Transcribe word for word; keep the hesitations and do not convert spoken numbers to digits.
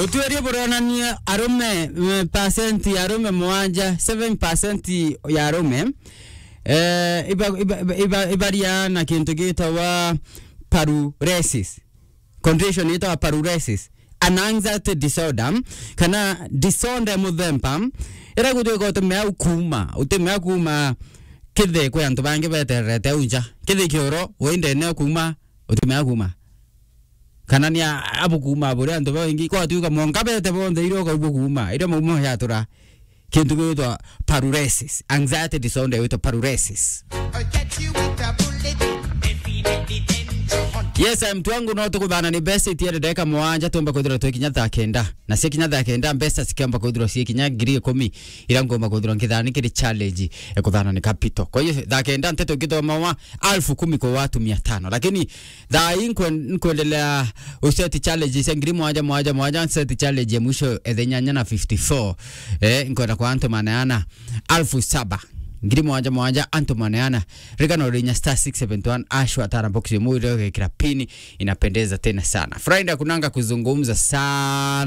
Utwiri buronania arume, eh, percent ya arume mwanja, seven percent ya arume, eh, iba-, iba-, iba-, iba-, ibaria na kintu gitawa paruresis. Condition yitagwa paruresis, an anxiety disorder, kana disorder muthemba, ira gutwika utimea kuuma, utimea kuuma kithe kwi antu bangi betererete au nja. Kithe kioro, we ndene kuuma, utimea kuuma. Kana ni a-, abu kuuma buri antu baingi, kwatuika monka bete bonthe ira ukaigua kuuma, ira maumo yatura. Kintu gitwa paruresis, anxiety disorder gitwa paruresis. Yes, mtu wangu, no tukuthana ni mbeca itiende ndagika mwanja, tumba kwithirwa twi kinya thaa kenda. Na cia kinya thaa kenda, mbeca cikiamba kwithirwa cie kinya ngiri ikumi, ira ngomba kwithirwa nkithani kiri challenge, e kuthana ni capital. Kwa hiyo, thaa kenda nteto ngithomawa alfu kumi kwa watu mia tano. Lakini thaa hii nkwen-, nkwendelea useti challenge cia ngiri mwanja, mwanja, mwanja, nseti challenge ya mwisho, ethe nyanya na fifty-four. Eh, nkwenda kwa antu maneana alfu saba. Ngiri mwanja mwanja, antu maneana. Rika no rinya star six seven one hash, watara box yomu, ile ukekira pin, inapendeza tena sana. Friday kunanga kuzungumza sana.